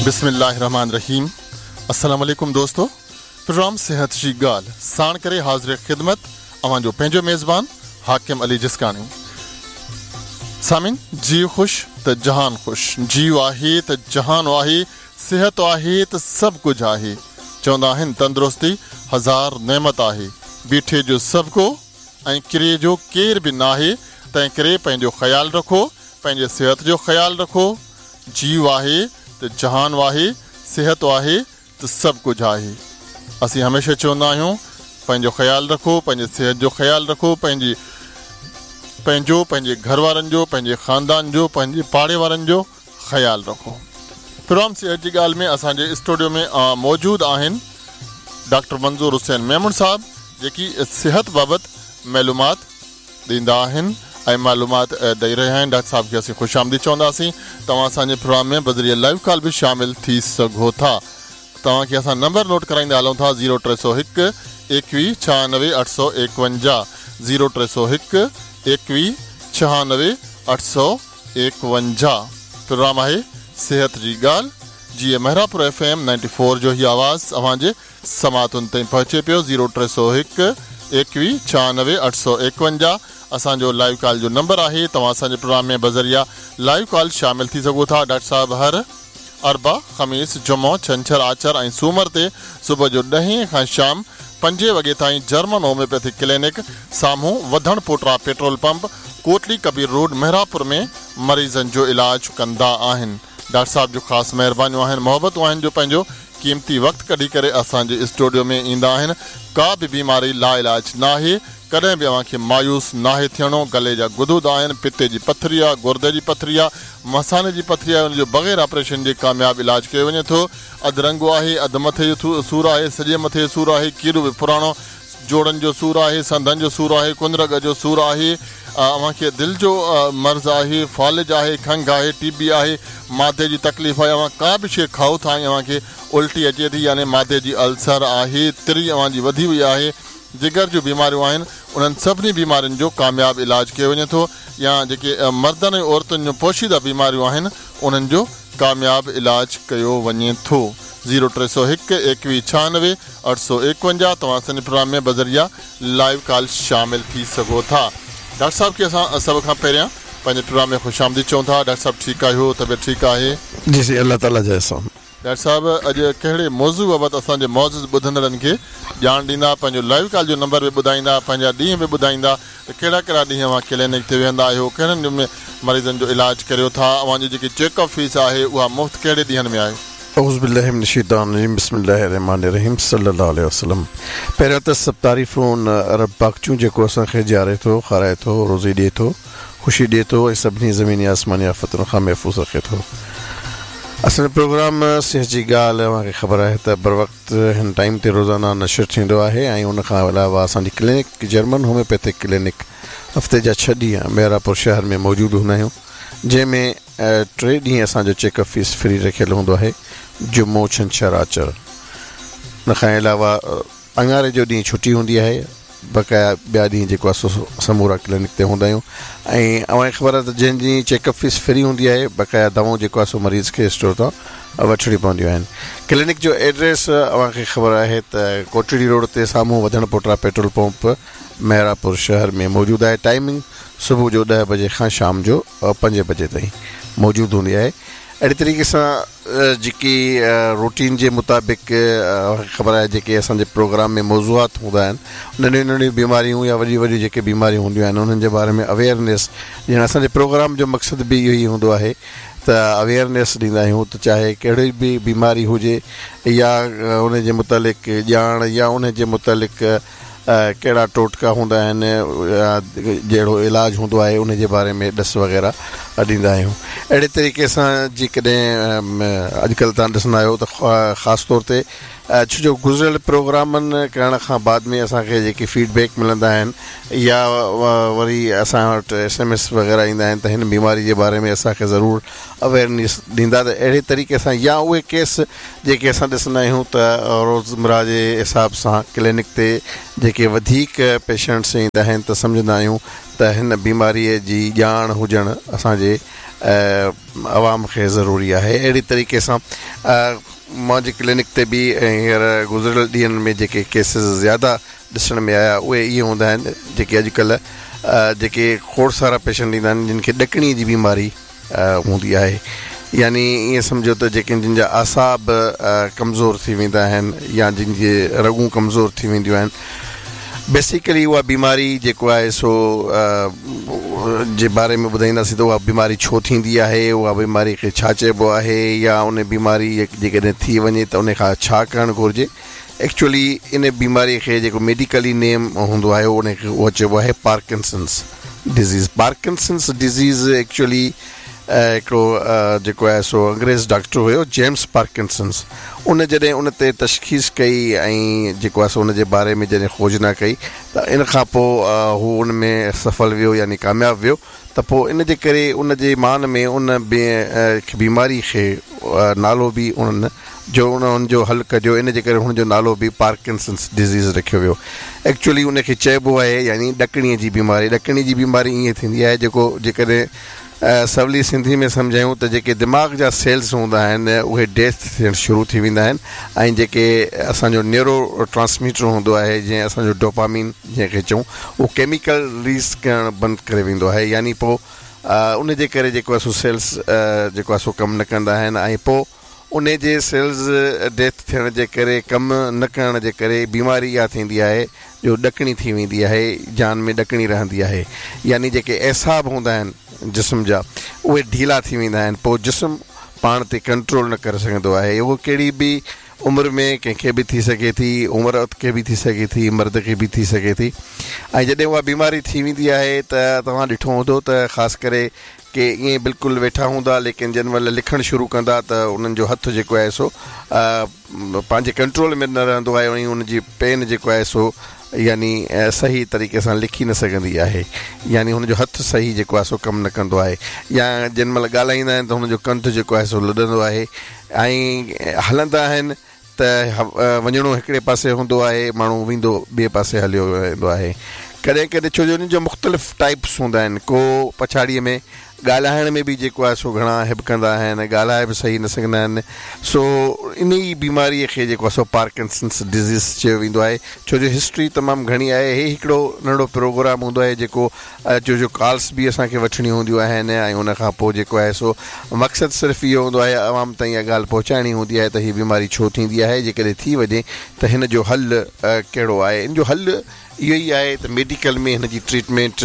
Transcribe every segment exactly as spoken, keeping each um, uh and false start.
बिस्मिल्लाहिर्रहमानिर्रहीम। अस्सलाम वालेकुम दोस्तों, प्रोग्राम सेहत जी ॻाल्हि साण करे हाज़िर ख़िदमत अव्हां जो पंहिंजो मेज़बान हाकिम अली जिस्काणी। सामिन, जीव ख़ुश त जहान ख़ुश, जीव आहे त जहान आहे, सिहत आहे त सभु कुझु आहे। चवंदा आहिनि तंदुरुस्ती हज़ार नेमत आहे, बीठे जो सभु को ऐं किरे जो केरु बि नाहे। तंहिं करे पंहिंजो ख़्यालु रखो, पंहिंजे सिहत जो ख़्यालु रखो। जीव आहे त जहान आहे, सिहत आहे त सभु कुझु आहे। असीं हमेशह चवंदा आहियूं पंहिंजो ख़्यालु रखो, पंहिंजे सिहत जो ख़्यालु रखो, पंहिंजी पंहिंजो पंहिंजे घर वारनि जो, पंहिंजे ख़ानदान जो, पंहिंजे पाड़े वारनि जो ख़्यालु रखो। प्रोग्राम सिहत जी ॻाल्हि में असांजे स्टूडियो में मौजूदु आहिनि डॉक्टर मंज़ूर हुसैन मेमण साहब, जेकी सिहत बाबति मालूमात ॾींदा आहिनि ऐं मालूमात ॾेई रहिया आहिनि। डॉक्टर साहब खे असीं ख़ुशि आमदीद चवंदासीं। तव्हां असांजे प्रोग्राम में बज़रिए लाइव कॉल बि शामिल थी सघो था। तव्हांखे असां नंबर नोट कराईंदा हलूं था ज़ीरो टे सौ हिकु एकवीह छहानवे अठ सौ एकवंजाह, ज़ीरो टे सौ हिकु एकवीह छहानवे अठ सौ एकवंजाह। प्रोग्राम आहे सेहत जी ॻाल्हि, जीअं Mehrapur F M ninety four जो हीउ आवाज़ अव्हांजे समातुनि ताईं पहुचे पियो। ज़ीरो टे सौ हिकु एकवीह छहानवे अठ सौ एकवंजाह असांजो लाइव कॉल जो नंबर आहे। तव्हां असांजे प्रोग्राम में बज़रिया लाइव कॉल शामिल थी सघो था। डॉक्टर साहब हर अरबा, ख़मीस, जुमो, छंछर, आचर ऐं सूमर ते सुबुह जो ॾहें खां शाम पंजे वॻे ताईं जर्मन होम्योपैथिक क्लिनिक साम्हूं Wadhan Pota petrol pump, Kotli Kabir road, Mehrapur में मरीज़नि जो इलाज कंदा आहिनि। डॉक्टर साहब जो ख़ासि महिरबानियूं आहिनि, मोहबतूं आहिनि जो पंहिंजो क़ीमती वक़्तु कढी करे असांजे स्टूडियो में ईंदा आहिनि। का बि बीमारी लाइलाज नाहे, कॾहिं बि अव्हांखे मायूस नाहे थियणो। गले जा गुदूद आहिनि, पित्ते जी पथरी आहे, गुर्दे जी पथरी आहे, मसाने जी पथरी आहे, उनजो बग़ैर ऑपरेशन जे कामयाबु इलाज कयो वञे थो। अधु रंगो आहे, अधु मथे जो सूर आहे, सॼे मथे जो सूर आहे, कीरो बि पुराणो, जोड़नि जो सूर आहे, संधनि जो सूर आहे, कुंदरग जो सूर आहे, अव्हांखे दिलि जो मर्ज़ आहे, फ़ालिज आहे, खंघ आहे, टीबी आहे, मादे जी तकलीफ़ आहे। अव्हां का बि शइ खाओ था ऐं अव्हांखे उल्टी अचे थी, यानी मादे जी अल्सर आहे, तिरी अव्हांजी वधी वई आहे, जिगर जूं बीमारियूं आहिनि, उन्हनि सभिनी बीमारियुनि जो कामयाबु इलाज कयो वञे थो। या जेके मर्दनि ऐं औरतुनि जूं पोशीदा बीमारियूं आहिनि, उन्हनि जो कामयाबु इलाज कयो वञे थो। ज़ीरो टे सौ हिकु एकवीह छहानवे अठ सौ एकवंजाह तव्हां असांजे प्रोग्राम में बज़रिया लाइव कॉल शामिल थी सघो था। डॉक्टर साहब खे असां सभ खां पहिरियां पंहिंजे प्रोग्राम में ख़ुशि आमदीद चऊं था। डॉक्टर साहब ठीकु आहियो? तबियत ठीकु आहे? जी जी, अलाह ताला जो एहसान। डॉक्टर साहब अॼु कहिड़े मौज़ू बाबति असांजे मौज़ूद ॿुधंदड़नि खे ॼाण ॾींदा, पंहिंजो लाइव कॉल जो नंबर बि ॿुधाईंदा, पंहिंजा ॾींहं बि ॿुधाईंदा त कहिड़ा कहिड़ा ॾींहं अव्हां क्लिनिक ते वेहंदा आहियो, कहिड़नि में मरीज़नि जो इलाज करियो था, अव्हांजी जेकी चेकअप फीस आहे उहा मुफ़्त कहिड़े ॾींहनि में आहे? औज़ु बिल्लाहि मिनश शैतानिर रजीम, बिस्मिल्लाहिर्रहमानिर्रहीम, सल्लल्लाहु अलैहि वसल्लम। पहिरियों त सभु तारीफ़ूं रब पाक जूं, जेको असांखे जीआरे थो, खाराए थो, रोज़ी ॾिए थो, ख़ुशी ॾिए थो ऐं सभिनी ज़मीनी आसमानी आफ़तुनि खां महफ़ूज़ रखे थो। असांजो प्रोग्राम सिहत जी ॻाल्हि अव्हांखे ख़बर आहे त बर वक़्तु हिन टाइम ते रोज़ाना नशर थींदो आहे ऐं उन खां अलावा असांजी क्लिनिक जर्मन होम्योपैथिक क्लिनिक हफ़्ते जा छह ॾींहं मेहरापुर शहर में मौजूदु हूंदा आहियूं, जंहिंमें टे ॾींहं असांजो चेकअप फीस फ्री रखियलु हूंदो आहे, जुमो, छंछर, आचर। उन खां अलावा अंगारे जो ॾींहुं छुट्टी हूंदी आहे, बक़ाया ॿिया ॾींहं जेको आहे सो समूरा क्लिनिक ते हूंदा आहियूं। ऐं अव्हांखे ख़बर आहे त जंहिं ॾींहुं चेकअप फीस फ्री हूंदी आहे, बक़ाया दवाऊं जेको आहे सो मरीज़ खे स्टोर तां वठिणी पवंदियूं आहिनि। क्लिनिक जो एड्रेस अव्हांखे ख़बर आहे त कोटड़ी रोड ते साम्हूं वधण पोटरा पेट्रोल पंप मेहरापुर शहर में मौजूदु आहे। टाइमिंग सुबुह जो ॾह बजे खां शाम जो पंजे बजे ताईं मौजूदु हूंदी आहे। अहिड़े तरीक़े सां जेकी रूटीन जे मुताबिक़ ख़बर आहे जेके असांजे प्रोग्राम में मौज़ूआत हूंदा आहिनि, नंढियूं नंढियूं बीमारियूं या वॾियूं वॾियूं जेके बीमारियूं हूंदियूं आहिनि उन्हनि जे बारे में अवेयरनेस ॾियण असांजे प्रोग्राम जो मक़सदु बि इहो ई हूंदो आहे त अवेयरनेस ॾींदा आहियूं त चाहे कहिड़ी बि बीमारी हुजे या उन जे मुतालिक़ ॼाण या उन जे मुतालिक़ कहिड़ा टोटका हूंदा आहिनि या जहिड़ो इलाज हूंदो आहे उन जे बारे में ॾस वग़ैरह ॾींदा आहियूं। अहिड़े तरीक़े सां जेकॾहिं अॼुकल्ह तव्हां ॾिसंदा आहियो त ख़ासि तौर ते छो जो गुज़िरियल प्रोग्रामनि करण खां बाद में असांखे जेके फीडबैक मिलंदा आहिनि या वरी असां वटि एस एम एस वग़ैरह ईंदा आहिनि त हिन बीमारी जे बारे में असांखे ज़रूरु अवेयरनेस ॾींदा। त अहिड़े तरीक़े सां या उहे केस जेके असां ॾिसंदा आहियूं त रोज़मरा जे हिसाब सां क्लिनिक ते जेके वधीक पेशेंट्स ईंदा आहिनि त सम्झंदा आहियूं त हिन बीमारीअ जी ॼाण हुजणु असांजे عوام کي ضروري آهي. اهڙي طريقي سان منهنجي ڪلينڪ تي به هينئر گذريل ڏينهن ۾ جيڪي ڪيسز زياده ڏسڻ ۾ آيا اهي اهي هوندا آهن جيڪي اڄڪلهه جيڪي کوڙ سارا پيشنٽ ايندا آهن جن کي ڏڪڻيءَ جي بيماري هوندي آهي، يعني ائين سمجهو ته جيڪي جن جا اعصاب ڪمزور ٿي ويندا آهن يا جن جي رڳون ڪمزور ٿي وينديون آهن. بيسيڪلي اها بيماري جيڪو آهي سو جي باري ۾ ٻڌائينداسين ته اها بيماري ڇو ٿيندي آهي، اها بيماري کي ڇا چئبو آهي يا ان بيماري جيڪڏهن ٿي وڃي ته ان کان ڇا ڪرڻ گهرجي. ايڪچوئلي ان بيماري کي جيڪو ميڊيڪلي نيم هوندو آهي ان کي اهو چئبو آهي Parkinson's disease. Parkinson's disease actually هڪڙو جيڪو آهي سو انگريز ڊاڪٽر هيو جيمس پارڪنسنس، ان جڏهن ان تي تشخيص ڪئي ۽ جيڪو آهي سو ان جي باري ۾ جڏهن کوجنا ڪئي ته ان کان پوءِ هو ان ۾ سڦل ويو يعني ڪامياب ويو. ته پوءِ ان جي ڪري ان جي مان ۾ ان بيماري کي نالو به انهن جو ان جو حل ڪڍيو، ان جي ڪري هن جو نالو به پارڪنسنس ڊزيز رکيو ويو. ايڪچوئلي ان کي چئبو آهي يعني ڏڪڻيءَ جي بيماري. ڏڪڻي جي بيماري ائين ٿيندي آهي جيڪو جيڪڏهن سولي سنڌي ۾ سمجهايون ته جيڪي دماغ جا سيلز هوندا آهن اهي ڊيٿ ٿيڻ شروع ٿي ويندا آهن ۽ جيڪي اسان جو نيورو ٽرانسميٽر هوندو آهي جيئن اسان جو ڊوپامين جنهن کي چئون اهو ڪيميڪل رليز ڪرڻ بند ڪري ويندو آهي، يعني پوءِ ان جي ڪري جيڪو آهي سو سيلز جيڪو آهي سو ڪم نه ڪندا آهن ۽ پوءِ ان جي سيلز ڊيٿ ٿيڻ جي ڪري ڪم نه ڪرڻ جي ڪري بيماري اها ٿيندي آهي جو ڏڪڻي ٿي ويندي آهي، جان ۾ ڏڪڻي رهندي آهي، يعني جيڪي اعصاب هوندا آهن جسم جا اهي ڍيلا ٿي ويندا آهن، پوءِ جسم پاڻ تي ڪنٽرول نه ڪري سگهندو آهي. اهو ڪهڙي به عمر ۾ ڪنهن کي به ٿي سگهي ٿي، عورت کي به ٿي سگهي ٿي، مرد کي به ٿي سگهي ٿي. ۽ جڏهن اها بيماري ٿي ويندي آهي ته توهان ڏٺو هوندو ته خاص ڪري ڪي ائين بلڪل ويٺا هوندا ليڪن جنهن مهل لکڻ شروع ڪندا ته انهن جو هٿ جيڪو آهي سو پنهنجي ڪنٽرول ۾ نه رهندو آهي ۽ ان جي پين جيڪو آهي سو يعني صحيح طريقي سان لکي نه سگهندي آهي، يعني هن جو هٿ صحيح جيڪو آهي سو ڪم نه ڪندو آهي، يا جنهن مهل ڳالهائيندا آهن ته هن جو ڪنڌ جيڪو آهي سو لڏندو آهي ۽ هلندا آهن ته وڃڻو هڪڙي پاسي هوندو آهي، ماڻهو ويندو ٻئي پاسي هليو ويندو آهي. ڪڏهن ڪڏهن ڇو جو ان جو مختلف ٽائپس هوندا آهن، ڪو پڇاڙيءَ ۾ ڳالهائڻ ۾ به جيڪو آهي سو گهڻا هٻڪندا آهن، ڳالهائي به صحيح نه سگهندا آهن. سو ان ئي بيماريءَ کي جيڪو آهي سو پارڪنسنس ڊزيز چيو ويندو آهي. ڇو جو هسٽري تمام گهڻي آهي. هي هڪڙو ننڍڙو پروگرام هوندو آهي جيڪو ڇو جو ڪالس به اسان کي وٺڻي هونديون آهن ۽ ان کان پوءِ جيڪو آهي سو مقصد صرف اهو هوندو آهي عوام تائين اها ڳالهه پهچائڻي هوندي آهي ته هيءَ بيماري ڇو ٿيندي آهي، جيڪڏهن ٿي وڃي ته هن جو حل ڪهڙو آهي. ان جو حل اهو ئي آهي ته ميڊيڪل ۾ هن جي ٽريٽمينٽ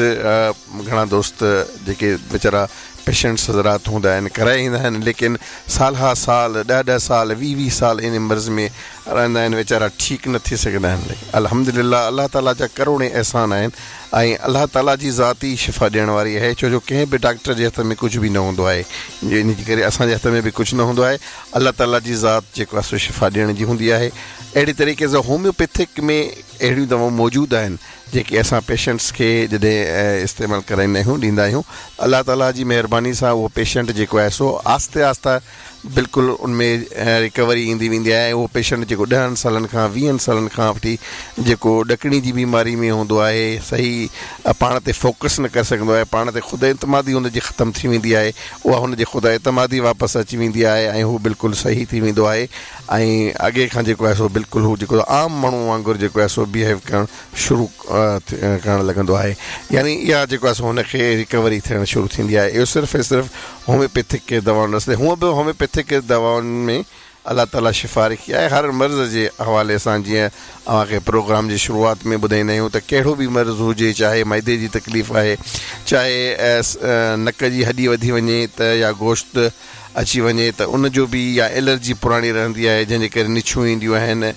گهڻا دوست جيڪي ويچارا پيشنٽس حضرات هوندا آهن ڪرائي ايندا آهن، ليڪن سال ها سال ڏهه ڏهه سال ويهه ويهه سال ان مرض ۾ رهندا آهن، ويچارا ٺيڪ نه ٿي سگهندا آهن. الحمدلله الله تعاليٰ جا ڪروڙين احسان آهن ۽ الله تعاليٰ جي ذات ئي شفا ڏيڻ واري آهي. ڇو جو ڪنهن به ڊاڪٽر جي هٿ ۾ ڪجهه به نه هوندو آهي، ان جي ڪري اسان جي هٿ ۾ به ڪجهه نه هوندو آهي. الله تعاليٰ جي ذات جيڪو آهي سو شفا ڏيڻ جي هوندي آهي. اهڙي طريقي سان هوميوپيٿڪ ۾ اهڙيون دوائون موجود آهن جيڪي اسان پيشنٽس کي جڏهن استعمال ڪرائيندا آهيون ڏيندا آهيون، الله تعاليٰ جي مهرباني سان اهو پيشنٽ جيڪو آهي سو آهستي آهستي بلڪل ان ۾ رڪوري ايندي ويندي آهي. اهو پيشنٽ جيڪو ڏهن سالن کان ويهن سالن کان وٺي جيڪو ڏڪڻي جي بيماري ۾ هوندو آهي، صحيح پاڻ تي فوڪس نه ڪري سگهندو آهي، پاڻ تي خود اعتمادي هن جي ختم ٿي ويندي آهي، اها هن جي خود اعتمادي واپس اچي ويندي آهي ۽ هو بلڪل صحيح ٿي ويندو آهي ۽ اڳي کان جيڪو آهي سو بلڪل هو جيڪو عام ماڻهو وانگر جيڪو آهي سو بهيو ڪرڻ شروع ڪرڻ لڳندو آهي. يعني اها جيڪو آهي سو هن کي رڪوري ٿيڻ شروع ٿيندي آهي. اهو صرف ۽ صرف هوميوپيٿڪ دوائن رستي. هونئن به هوميوپيٿڪ دوائن ۾ الله تعاليٰ شفا رکي آهي هر مرض جي حوالي سان. جيئن اوهان کي پروگرام جي شروعات ۾ ٻڌائيندا آهيون ته ڪهڙو به مرض هجي، چاهي معدي جي تڪليف آهي، چاهي نڪ جي هڏي وڌي وڃي ته يا گوشت اچي وڃي ته ان جو به، يا الرجي پراڻي رهندي آهي جنهن جي ڪري نڇون اينديون آهن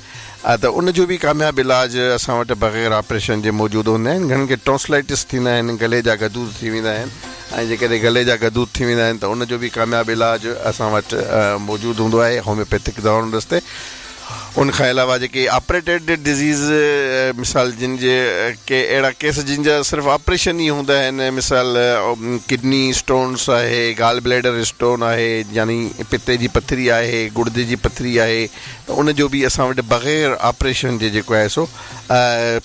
ته ان جو به ڪامياب علاج اسان وٽ بغير آپريشن جي موجود هوندا آهن. گهڻن کي ٽونسلائٽس ٿيندا آهن، گلي جا گدود ٿي ويندا آهن ۽ جيڪڏهن گلي جا گدود ٿي ويندا آهن ته ان جو به ڪامياب علاج اسان وٽ موجود هوندو آهي هوميوپيٿڪ دوائن رستي. ان کان علاوه جيڪي آپريٽيڊ ڊزيز مثال جن جي ڪي اهڙا ڪيس جن جا صرف آپريشن ئي هوندا آهن، مثال ڪڊني اسٽونس آهي، گال بليڊر اسٽون آهي، يعني پتي جي پٿري آهي، گڙدي جي پٿري آهي، ته ان جو به اسان وٽ بغير آپريشن جي جيڪو آهي سو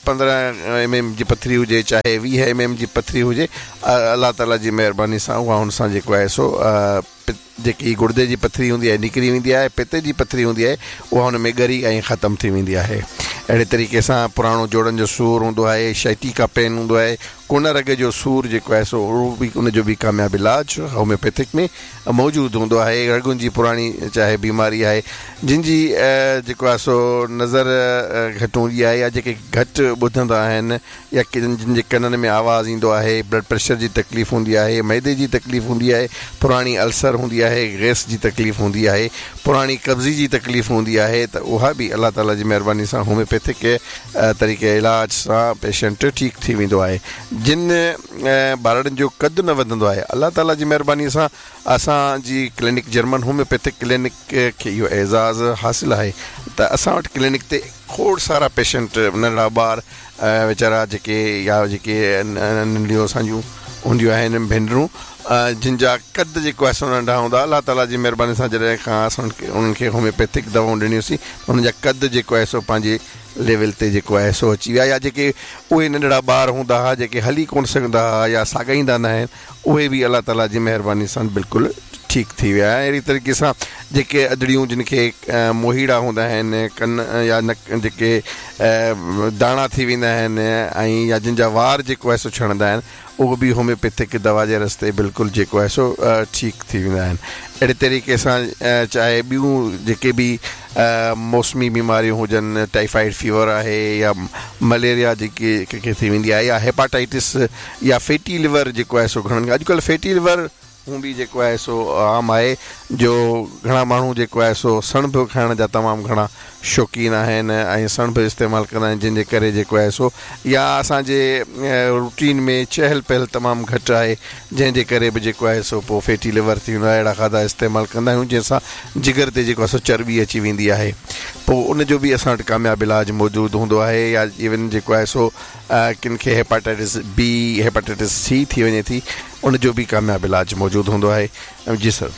پندرهن ايم ايم جي پٿري هجي چاهي ويهه ايم ايم جي پٿري هجي، الله تعاليٰ جي مهرباني سان اها هن سان جيڪو آهي سو جيڪي گڙدي جي پٿري هوندي آهي نڪري ويندي آهي، پتي جي پٿري هوندي آهي اها هن ۾ ڳري ۽ ختم ٿي ويندي آهي. اهڙي طريقي سان پراڻو جوڙن جو سور هوندو آهي، شائٽيڪا پين هوندو آهي، ڪون رڳ جو سور جيڪو آهي سو اهو به ان جو به ڪامياب علاج هوميوپيٿڪ ۾ موجود هوندو آهي. رڳن جي پراڻي چاهي بيماري آهي، جن جي جيڪو آهي سو نظر گهٽ هوندي آهي يا جيڪي گهٽ ٻڌندا آهن يا جن جي ڪنن ۾ آواز ايندو آهي، بلڊ پريشر جي تڪليف هوندي آهي، معدي جي تڪليف هوندي آهي، پراڻي السر هوندي آهي، گئس جي تڪليف هوندي آهي، پراڻي قبضي جي تڪليف هوندي آهي، ته اها به الله تعاليٰ جي مهرباني سان هوميوپيٿڪ طريقي علاج سان پيشنٽ ٺيڪ ٿي ويندو آهي. جن ٻارڙن جو قد نه وڌندو آهي، الله تعاليٰ جي مهرباني سان اسان جي ڪلينڪ جرمن هوميوپيٿڪ ڪلينڪ کي اهو اعزاز حاصل آهي ته اسان وٽ ڪلينڪ تي کوڙ سارا پيشنٽ ننڍڙا ٻار ويچارا جيڪي يا جيڪي ننڍڙيون اسان جون هونديون آهن ڀينرون جن جا قد جيڪو آهي سو ننڍا هوندا، الله تعاليٰ جي مهرباني سان جڏهن کان اسان انهن کي هوميوپيٿڪ دوائون ڏنيونسين انهن جا قد جيڪو آهي سو پنهنجي ليول تي جيڪو آهي سو اچي ويا. يا جيڪي اهي ننڍڙا ٻار هوندا هئا جيڪي هلي ڪونه سگهندا هئا يا ساڳائيندا نه آهن، اهي به الله تعاليٰ جي مهرباني سان بلڪل ٺيڪ ٿي ويا. اهڙي طريقي سان جيڪي ادڙيون جن کي موهيڙا هوندا آهن، ڪن يا نڪ جيڪي داڻا ٿي ويندا آهن ۽ يا جن جا وار جيڪو آهي سو ڇڻندا آهن، اهو به هوميوپيٿڪ دوا جي رستي بلڪل جيڪو آهي سو ٺيڪ ٿي ويندا آهن. اهڙي طريقي سان چاهي ٻيون جيڪي به موسمي بيماريون هجن، ٽائيفائيڊ فيور آهي يا مليريا جيڪي ڪنهن کي ٿي ويندي آهي يا هيپاٽائٽس يا فيٽي ليور جيڪو آهي سو گهڻن کي اڄڪلهه فيٽي ليور هون به جيڪو آهي سو عام آهي، جو گهڻا ماڻهو جيڪو آهي سو سڻڀ کائڻ جا تمام گهڻا شوقين آهن ۽ سڻڀ استعمال ڪندا آهن، جن جي ڪري جيڪو آهي سو يا اسان جي روٽين ۾ چهل پهل تمام گهٽ آهي، جنهن جي ڪري به جيڪو آهي سو پوء فيٽي ليور ٿي ويندو آهي. اهڙا کاڌا استعمال ڪندا آهيون جنهن سان جگر تي جيڪو آهي سو چرٻي اچي ويندي آهي، پوء ان جو به اسان وٽ ڪامياب علاج موجود هوندو آهي. يا ايون جيڪو آهي سو ڪن کي هيپاٽائٽس بي، هيپاٽائٽس سي ٿي وڃي ٿي، ان جو به ڪامياب علاج موجود هوندو آهي. جي سر.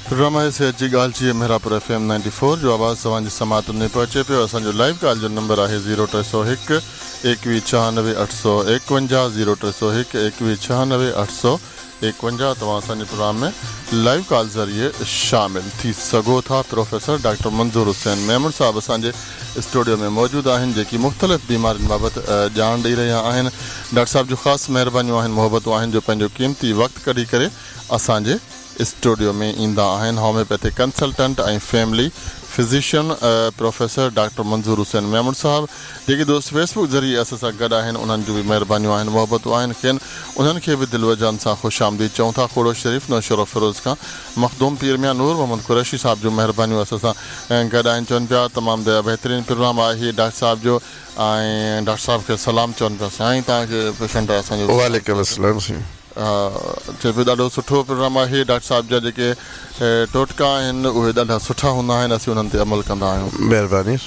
پروگرام آهي صحت جي ڳالهه جي Mehrapur F M ninety four جو آواز توهان جي سماعتن ۾ پهچي پيو. اسان جو لائيو ڪال جو نمبر آهي زيرو ٽي سؤ هڪ ايڪويهه ڇهانوي اٺ سؤ ايڪونجاهه، زيرو ٽي سؤ هڪ ايڪويهه ڇهانوي اٺ سؤ ايڪونجاهه. توهان اسان جي پروگرام ۾ لائيو ڪال ذريعي شامل ٿي سگهو ٿا. پروفيسر ڊاڪٽر منظور حسين ميمڻ صاحب اسان جي اسٽوڊيو ۾ موجود آهن، جيڪي مختلف بيمارين بابت ڄاڻ ڏئي رهيا آهن. ڊاڪٽر صاحب جون خاص مهربانيون آهن، محبتون آهن جو پنهنجو قيمتي وقت ڪڍي ڪري اسان جي اسٽوڊيو ۾ ايندا آهن. Homeopathic consultant ۽ family physician professor doctor Manzoor Hussain Memon صاحب. جيڪي دوست فيس بڪ ذريعي اسان سان گڏ آهن انهن جون به مهربانيون آهن، محبتون آهن. کين انهن کي به دل و جان سان خوش آمديد چئون ٿا. کوڙو شريف نوشهرو فيروز کان مخدوم پير ميان نور محمد قريشي صاحب جون مهربانيون اسان سان گڏ آهن. چون پيا تمام بهترين پروگرام آهي ڊاڪٽر صاحب جو ۽ ڊاڪٽر صاحب کي سلام چون پيا. سائين توهان کي پيشنٽ اسان جو وعليڪم السلام. سائين چئي پيو ڏاڍو سٺو پروگرام آهي. ڊاڪٽر صاحب جا جيڪي ٽوٽڪا آهن اهي ڏاڍا سٺا هوندا آهن، اسين انهن تي عمل ڪندا آهيون. مهرباني.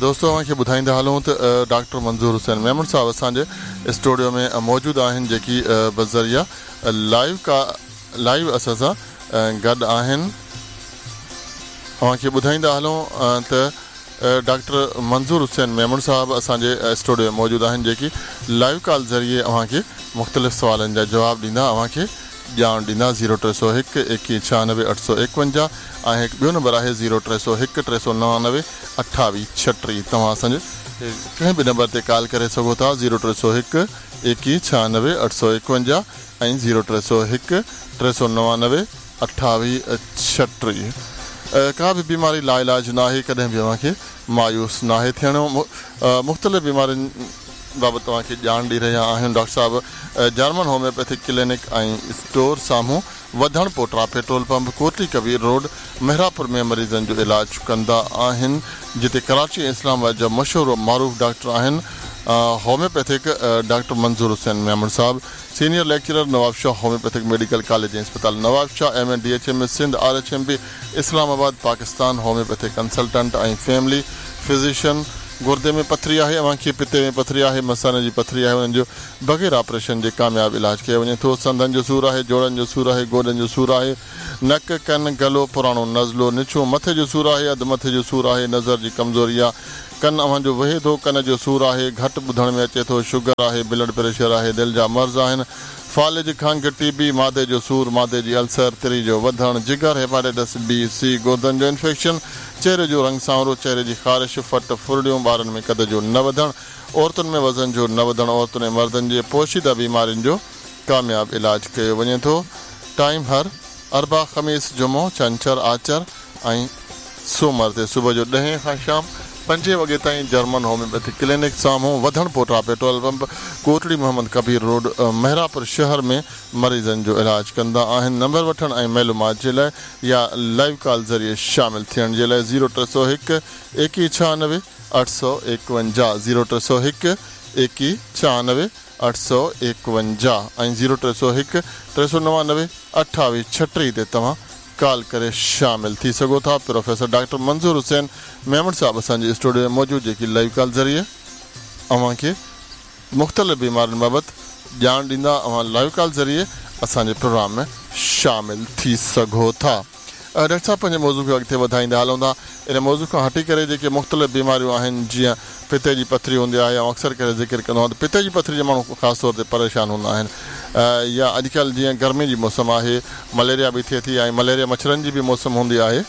دوستو اوهان کي ٻڌائيندا هلون ته ڊاڪٽر منظور حسين ميمڻ صاحب اسان جي اسٽوڊيو ۾ موجود آهن، جيڪي بذريعه لائيو ڪا لائيو اسان سان گڏ آهن. اوهان کي ٻڌائيندا هلون ته ڊاڪٽر منظور حسين ميمڻ صاحب اسان جي اسٽوڊيو ۾ موجود آهن، جيڪي لائيو ڪال ذريعي اوهان کي مختلف سوالن جا جواب ڏيندا، اوهان کي ڄاڻ ڏيندا. زيرو ٽي سؤ هڪ ايڪويهه ڇهانوي اٺ سؤ ايڪونجاهه ۽ هڪ ٻيو نمبر آهي زيرو ٽي سؤ هڪ ٽي سؤ نوانوي اٺاويهه ڇٽيهه. توهان اسان جي ڪنهن به نمبر تي ڪال ڪري سگهو ٿا. زيرو ٽي سؤ هڪ ايڪويهه ڇهانوي اٺ سؤ ايڪونجاهه ۽ زيرو ٽي سؤ هڪ ٽي سؤ نوانوي اٺاويهه ڇٽيهه. ڪا به بيماري لاعلاج ناهي، ڪڏهن به اوهان کي مايوس ناهي ٿيڻو. مختلف بيمارين بابت توهان کي ڄاڻ ڏئي رهيا آهيون. ڊاڪٽر صاحب جرمن هوميوپيٿڪ ڪلينڪ ۽ اسٽور سامهون وڌڻ پوٽرا petrol pump Kotli Kabir road Mehrapur ۾ مريضن جو علاج ڪندا آهن، جتي ڪراچي ۽ اسلام آباد جا مشهور و معروف ڊاڪٽر آهن. Homeopathic doctor Manzoor Hussain Memon Sahib, senior lecturer Nawabshah homeopathic medical college ऐं अस्पताल Nawabshah, M N D H M Sindh, R H M B Islamabad Pakistan, homeopathic consultant ऐं फैमिली फिजिशियन। गुर्दे में पथरी आहे अव्हांखे, पित्ते में पथरी आहे, मसाने जी पथरी आहे, उन्हनि जो बग़ैर ऑपरेशन जे कामयाबु इलाज कयो वञे थो। संधनि जो सूर आहे, जोड़नि जो सूर आहे, गोॾनि जो सूर आहे, नक कन गलो पुराणो नज़लो निछो, मथे जो सूर आहे, अधु मथे जो सूर आहे, नज़र जी कमज़ोरी आहे, कन अव्हांजो वहे थो, कन जो सूर आहे, घटि ॿुधण में अचे थो, शुगर आहे, ब्लड प्रेशर आहे, दिलि जा मर्ज़ आहिनि, फालिज, खंघ, टीबी, मादे जो सूर, मादे जी अल्सर, तिरी जो वधण, जिगर, हेपाटाइटिस बी सी, गुर्दनि जो इन्फेक्शन, चेहरे जो रंग सांवरो, चेहरे जी ख़ारिश, फट फुरड़ियूं, ॿारनि में कद जो न वधण, औरतुनि में वज़न जो न वधण, औरतुनि ऐं मर्दनि जे पोशीदा बीमारियुनि जो कामयाबु इलाज कयो वञे थो। टाइम हर अरबा, ख़मीस, जुमो, छंछर, आचर ऐं सोमर ते सुबुह जो ॾहें खां शाम पंजे वॻे ताईं जर्मन होम्योपैथिक क्लिनिक साम्हूं Wadhan Pota petrol pump, Kotri Mohammad Kabir road, Mehrapur शहर में मरीज़नि जो इलाज कंदा आहिनि। नंबर वठण ऐं मालूमात जे लाइ या लाइव कॉल ज़रिए शामिल थियण जे लाइ ज़ीरो टे सौ हिकु एकवीह छहानवे अठ सौ एकवंजाह, ज़ीरो टे सौ हिकु एकवीह छहानवे अठ सौ एकवंजाह ऐं ज़ीरो टे सौ हिकु टे सौ नवानवे अठावीह छटीह ते तव्हां कॉल करे शामिल थी सघो था। प्रोफेसर डॉक्टर मंज़ूर हुसैन मेमण साहब असांजे स्टूडियो में मौजूद, जेकी लाइव कॉल ज़रिए अव्हांखे मुख़्तलिफ़ बीमारियुनि बाबति ॼाण ॾींदा। अव्हां लाइव कॉल ज़रिए असांजे प्रोग्राम में शामिल थी सघो था। डॉक्टर साहब, पंहिंजे मौज़ू खे अॻिते वधाईंदा हलूं था। इन मौज़ू खां हटी करे जेके मुख़्तलिफ़ बीमारियूं आहिनि, जीअं पित्ते जी पथरी हूंदी आहे, ऐं अक्सर करे ज़िक्र कंदो आहियां त पित्ते जी पथरी जा माण्हू ख़ासि तौर ते परेशान हूंदा आहिनि, या अॼुकल्ह जीअं गर्मी जी मौसम आहे, मलेरिया बि थिए थी ऐं मलेरिया मच्छरनि जी बि मौसम हूंदी आहे,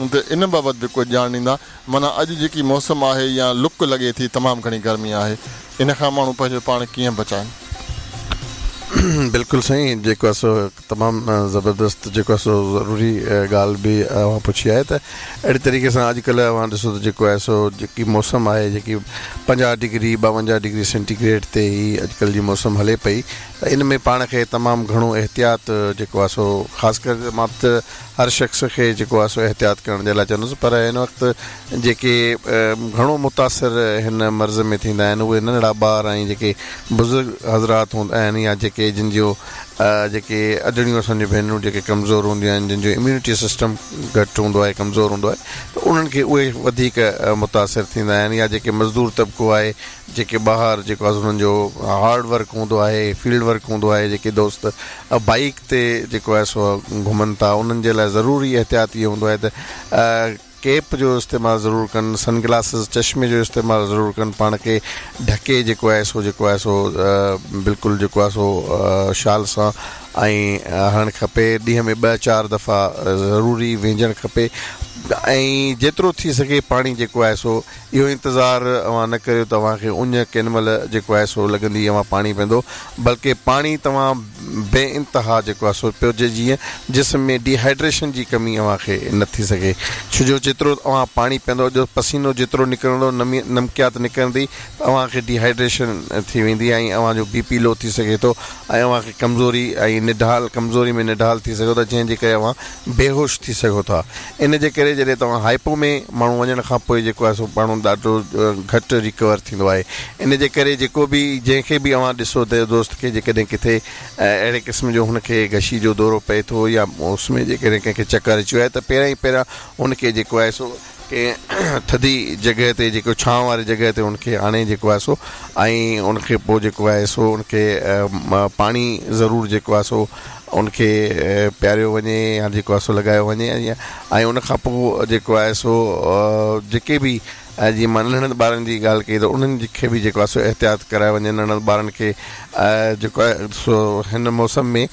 त इन बाबति बि कुझु ॼाण ॾींदा। माना अॼु जेकी मौसम आहे या लुक लॻे थी, तमामु घणी गर्मी आहे, इन खां माण्हू पंहिंजो पाण कीअं बचाइनि? बिल्कुलु साईं, जेको आहे सो तमामु ज़बरदस्त जेको आहे सो ज़रूरी ॻाल्हि बि अव्हां पुछी आहे। त अहिड़े तरीक़े सां अॼुकल्ह अव्हां ॾिसो त जेको आहे सो जेकी मौसम आहे, जेकी पंजाह डिग्री ॿावंजाह डिग्री सेंटीग्रेड ते ई अॼुकल्ह जी मौसम हले पई, त इन में पाण खे तमामु घणो एहतियात जेको आहे सो ख़ासि करे मां त हर शख़्स खे जेको आहे सो एहतियात करण जे लाइ चवंदुसि, पर हिन वक़्तु जेके घणो मुतासिर हिन मर्ज़ में थींदा आहिनि उहे नंढड़ा ॿार ऐं जेके बुज़ुर्ग हज़रात हूंदा आहिनि, या जेके जिन जो जेके अॾड़ियूं असांजूं भेनरूं जेके कमज़ोर हूंदियूं आहिनि, जिन जो इम्यूनिटी सिस्टम घटि हूंदो आहे, कमज़ोर हूंदो आहे, त उन्हनि खे उहे वधीक मुतासिर थींदा आहिनि। या जेके मज़दूर तबिको आहे, जेके ॿाहिरि जेको आहे उन्हनि जो हार्ड वर्क हूंदो आहे, फील्ड वर्क हूंदो आहे, जेके दोस्त बाइक ते जेको आहे सो घुमनि था, उन्हनि जे लाइ ज़रूरी एहतियात इहो हूंदो आहे त कैप जो इस्तेमालु ज़रूरु कनि, सन ग्लासिस चश्मे जो इस्तेमालु ज़रूरु कनि, पाण खे ढके जेको आहे सो जेको आहे सो बिल्कुलु जेको आहे सो शाल सां ऐं हणणु खपे। ॾींहं में ॿ चारि दफ़ा ज़रूरी वेंजणु खपे ऐं जेतिरो थी सघे पाणी जेको आहे सो इहो इंतज़ारु अव्हां न करियो त तव्हांखे उञ केॾी महिल जेको आहे सो लॻंदी अव्हां पाणी पीअंदो, बल्कि पाणी तव्हां बे इंतहा जेको आहे सो पियो, जे जीअं जिस्म में डिहाइड्रेशन जी कमी अव्हांखे न थी सघे। छो जो जेतिरो तव्हां पाणी पीअंदो, जो पसीनो जेतिरो निकिरंदो, नमी नमकियात निकिरंदी, त अव्हांखे डिहाइड्रेशन थी वेंदी ऐं अव्हांजो बी पी लो थी सघे थो ऐं अव्हांखे कमज़ोरी ऐं निढाल कमज़ोरी में निढाल थी सघो था, जंहिंजे करे अव्हां बेहोश थी सघो था। इन जे करे जॾहिं तव्हां हाइपो में माण्हू वञण खां पोइ जेको आहे सो माण्हू ॾाढो घटि रिकवर थींदो आहे। इन जे करे जेको बि जंहिंखे बि अव्हां ॾिसो त दोस्त खे जेकॾहिं किथे अहिड़े क़िस्म जो हुनखे गशी जो दौरो पए थो या उस में जेकॾहिं कंहिंखे चक्कर अची वियो आहे त पहिरियां ई पहिरियां हुनखे जेको आहे सो कंहिं थधी जॻह ते जेको छांव वारी जॻह ते हुनखे आणे जेको आहे सो ऐं उनखे पोइ जेको आहे सो उनखे पाणी ज़रूरु जेको आहे सो उनखे पीआरियो वञे या जेको आहे सो लॻायो वञे ऐं उन खां पोइ जेको आहे सो जेके बि जीअं मां नंढनि ॿारनि जी ॻाल्हि कई त उन्हनि खे बि जेको आहे सो एहतियात करायो वञे। नंढनि ॿारनि खे जेको आहे सो हिन मौसम में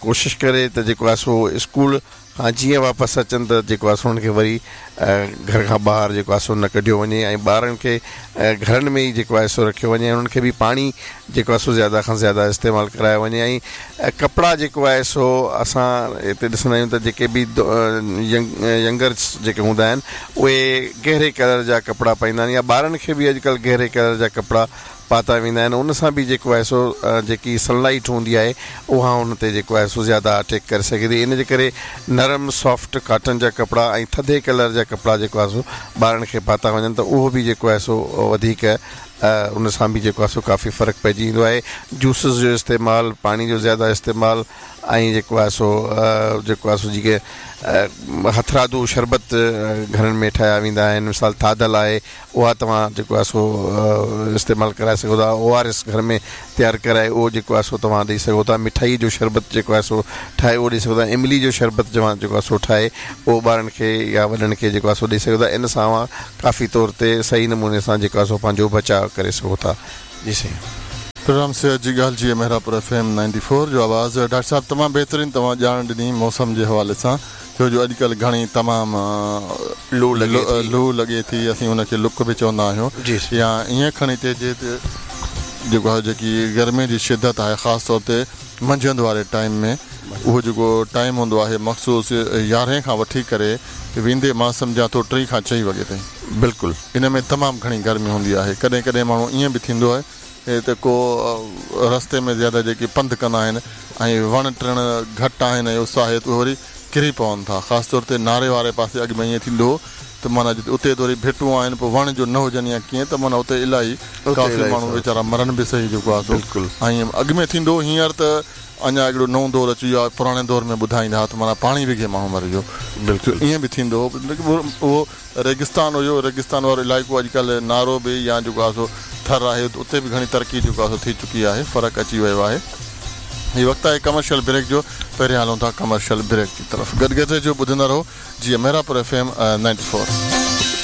कोशिशि करे त जेको आहे सो स्कूल खां जीअं वापसि अचनि त जेको आहे सो हुनखे वरी घर खां ॿाहिरि जेको आहे सो न कढियो वञे ऐं ॿारनि खे घरनि में ई जेको आहे सो रखियो वञे ऐं उन्हनि खे बि पाणी जेको आहे सो ज़्यादा खां ज़्यादा इस्तेमालु करायो वञे। ऐं कपिड़ा जेको आहे सो असां हिते ॾिसंदा आहियूं त जेके बि यंगर्स जेके हूंदा आहिनि उहे गहरे कलर जा कपिड़ा पाईंदा आहिनि या ॿारनि खे बि अॼुकल्ह गहरे कलर जा कपिड़ा पाता वेंदा आहिनि, उन सां बि जेको आहे सो जेकी सनलाइट हूंदी आहे उहा उन ते जेको आहे सो ज़्यादा अटैक करे सघे थी। इन जे करे नरम सॉफ्ट कॉटन जा कपिड़ा ऐं थधे कलर जा कपिड़ा जेको आहे सो ॿारनि खे पाता वञनि त उहो बि जेको आहे सो वधीक ان سان به جيڪو آهي سو ڪافي فرق پئجي ايندو آهي. جوسز جو استعمال، پاڻي جو زياده استعمال ۽ جيڪو آهي سو جيڪو آهي سو جيڪي هٿرادو شربت گهرن ۾ ٺاهيا ويندا آهن، مثال ٿاڌل آهي، اها توهان جيڪو آهي سو استعمال ڪرائي سگهو ٿا. او آر ايس گهر ۾ تيار ڪرائي اهو جيڪو آهي سو توهان ڏيئي سگهو ٿا. مٺائي جو شربت جيڪو آهي سو ٺاهي اهو ڏيئي سگهو ٿا. املي جو شربت جوان جيڪو آهي سو ٺاهي اهو ٻارن کي يا وڏن کي جيڪو آهي سو ڏيئي سگهو ٿا. ان سان اوهان ڪافي طور تي صحيح نموني سان جيڪو آهي سو پنهنجو بچاء ڪري سگهو ٿا. جي سائين. پروگرام صحت جي ڳالهه جي Mehrabpur F M ninety four جو آواز. ڊاڪٽر صاحب تمام بهترين توهان ڄاڻ ڏني موسم جي حوالي سان، ڇو جو اڄڪلهه گهڻي تمام لو لڳي ٿي، لو لڳي ٿي، اسين ان کي لڪ به چوندا آهيون، جي يا ائين کڻي چئجي ته جيڪو آهي جيڪي گرمي جي شدت آهي خاص طور تي منجهند واري ٽائيم ۾ اهو جيڪو ٽائيم هوندو آهي مخصوص يارهين کان وٺي ڪري ويندي مان سمجهان ٿو ٽي کان چئين وڳي تائين، بلڪل ان ۾ تمام گهڻي گرمي هوندي آهي. ڪڏهن ڪڏهن ماڻهو ائين به ٿيندو آهي ته ڪو رستي ۾ زياده جيڪي پنڌ ڪندا آهن ۽ وڻ ٽڻ گهٽ آهن ۽ اس آهي ته اهي وري ڪري پون ٿا. خاص طور تي ناري واري پاسي اڳ ۾ ائين ٿيندو هو ته معنيٰ جتي اتي ته وري ڀٽون آهن پوءِ وڻ جو نه هجن يا ڪيئن ته معنيٰ اتي الاهي ڪافي ماڻهو ويچارا مرن به صحيح جيڪو آهي سو. ۽ اڳ ۾ ٿيندو هو، هينئر ته اڃا هڪڙو نئون دور اچي ويو آهي. پراڻي دور ۾ ٻڌائيندا هئا ته معنيٰ پاڻي وگهي ماڻهو مري ويو، بلڪل ائين به ٿيندو هو. اهو ريگستان هيو، ريگستان وارو علائقو اڄڪلهه نارو به يا جيڪو آهي سو ٿر آهي اتي به گهڻي ترقي جيڪو آهي سو ٿي چڪي آهي، فرق اچي ويو آهي. هي وقت آهي ڪمرشل بريڪ جو، پهريان هلون ٿا ڪمرشل بريڪ جي طرف. گڏ گڏ جو ٻڌندا رهو جيئن Mehrapur F M ninety four.